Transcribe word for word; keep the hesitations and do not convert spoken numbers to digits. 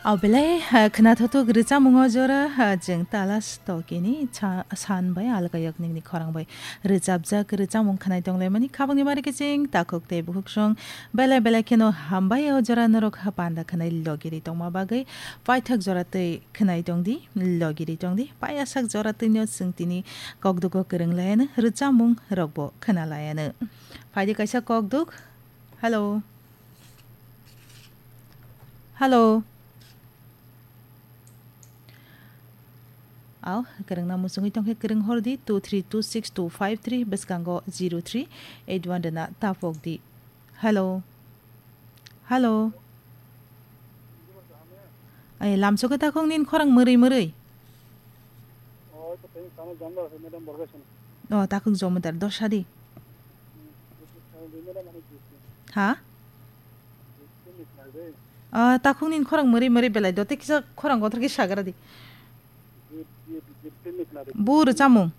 O belai, ha, khwnathokthok rwchapmung o jora, ha, chwng tala stokini cha-, san bai alka yakningni khorang bai rwchapjak rwchapmung khwnai tonglaimani khabangni mari kiching takhuk tei bukhuksong belai belai kheno hambai o jora norok ha panda khwnai logiri tongma bagwi paithak jora tei khwnai tongdi, logiri tongdi, payasak jora twino chwng tini kokdugo kwrwng laiano rwchapmung rokbo khwna laiano. Phaidi kaisa kokduk. Hello. Hello. Aw, kwrwngna muchungwi tongkhe kwrwng hordi two three two six two five three bwskango zero three eight one rwna tapokdi. Hello. Hello. Ai, lamsokhe takhuk nini khorang mwrwi mwrwi. O, takhuk jomodar, dosha di. Ha? Ah, takhuk nini khorang mwrwi mwrwi belai do, tei kisa khorang kotor khe sagra di. Bu rwchapmung.